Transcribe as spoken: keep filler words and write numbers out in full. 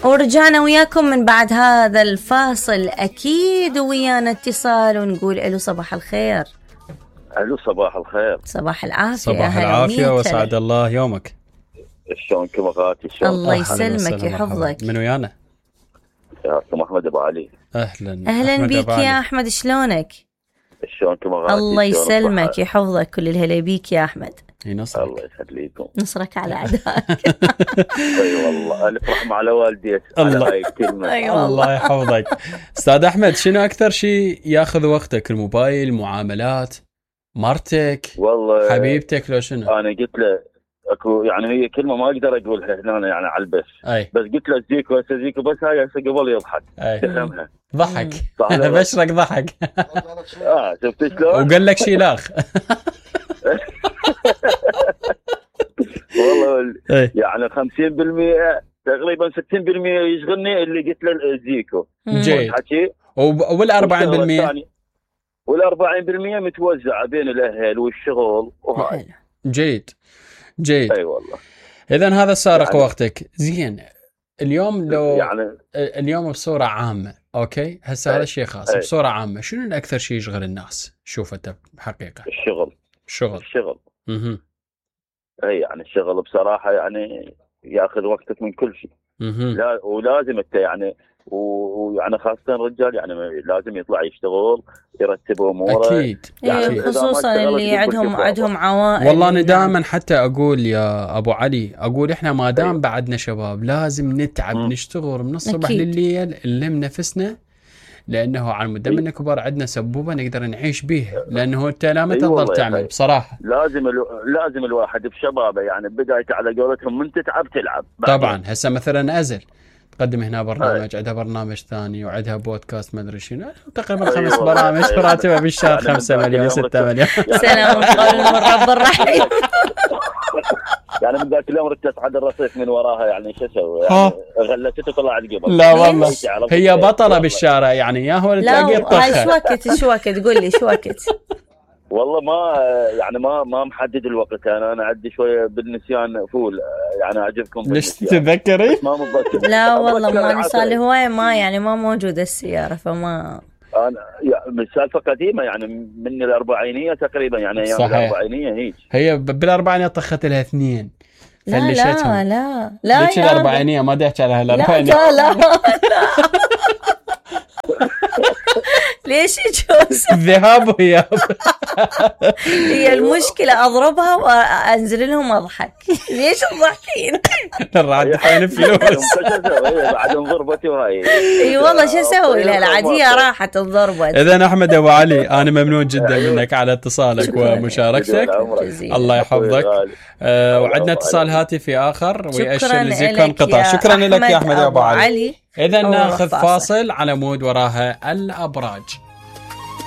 ورجعنا وياكم من بعد هذا الفاصل، أكيد ويانا اتصال ونقول ألو صباح الخير. ألو صباح الخير. صباح العافية. صباح العافية وسعد الله يومك. شلونكم اخواتي؟ شلون؟ الله يسلمك يحفظك. من ويانا؟ يا احمد ابو علي. اهلا اهلا بيك يا احمد، شلونك؟ شلونكم اخواتي؟ الله يسلمك يحفظك، كل الهلا بيك يا احمد. ينصرك. الله يخليكم. نصرك على اعدائك. اي والله الف رحمه على والديك على هاي الكلمه. أيوة الله يحفظك. استاذ احمد، شنو اكثر شيء ياخذ وقتك؟ الموبايل، معاملات، مرتك، والله حبيبتك، لو شنو؟ انا قلت له اكو يعني هي كلمه ما اقدر اقولها هنا يعني على البث، أي. بس قلت له زيكو هسه زيكو، بس هاي هسه قبل يضحك تفهمها. ضحك. بشرك ضحك. اه شفت شلون؟ وقال لك شيلاخ. والله يعني خمسين بالمئة تقريبا ستين بالمئة يشغلني اللي قلت له زيكو. جيد. وال أربعين بالمئة وال أربعين بالمئة متوزعه بين الاهل والشغل وهاي. جيد جيد. اي أيوة والله. اذا هذا سارق يعني وقتك. زين اليوم لو يعني اليوم بصوره عامه، اوكي هسه هذا شيء خاص. أي. بصوره عامه شنو الاكثر شيء يشغل الناس؟ شوف انت بحقيقه. الشغل. الشغل. الشغل. اها. اي يعني الشغل بصراحه يعني ياخذ وقتك من كل شيء. لا ولازم انت يعني ويعني خاصه الرجال يعني لازم يطلع يشتغل يرتب اموره. اكيد. يعني خصوصا اللي عندهم عندهم عوائل. والله انا دائما حتى اقول يا ابو علي، اقول احنا ما دام بعدنا شباب لازم نتعب م. نشتغل من الصبح أكيد. لليل نلم نفسنا، لانه على مدى من كبار عندنا سبوبه نقدر نعيش بيها، لانه انت لا ما تقدر تعمل يعني بصراحه. لازم الو... لازم الواحد بشبابه يعني بدايته على قولتهم من تتعب تلعب. طبعا هسه مثلا ازل تقدم هنا برنامج، عندها برنامج ثاني وعندها بودكاست ما ادري شنو، تقريبا خمس برامج، راتبها بالشهر خمسة مليون ستة مليون. سلام قول من رب الرحيم. يعني من ذاك اليوم ركزت على الرصيف من وراها يعني شو اسوي؟ يعني غلتته طلعت قبل. لا والله هي بطله بالشارع يعني، يا هو تلاقيه طخه. لا شو وقت شو وقت قول لي شو وقت؟ والله ما يعني ما ما محدد الوقت، انا انا عندي شويه بالنسيان فول يعني اعجبكم ليش تتذكري؟ ما متذكر. لا والله ما صار لي هوايه ما يعني ما موجوده السياره فما انا يعني سالفه قديمه يعني من الاربعينيه تقريبا يعني ايام الاربعينيه هيك. هي بالاربعينيه طخت لها اثنين لا لا لا لا ليش الاربعينيه ما دحكي على هالاربعينيه؟ لا لا لا ليش يجوز الذهاب وياب. هي المشكلة أضربها وأنزل لهم أضحك. ليش تضحكين؟ الرادفين فلوس. بعد ضربتي وهاي. اي والله شو اسوي لها العادية راحت انضربت. إذا أحمد أبو علي أنا ممنون جدا منك على اتصالك ومشاركتك. الله يحفظك. آه وعندنا اتصال هاتفي آخر ويأشر لذكر انقطاع. شكرا لك يا أحمد أبو علي. إذا ناخذ فاصل على مود وراها الأبراج.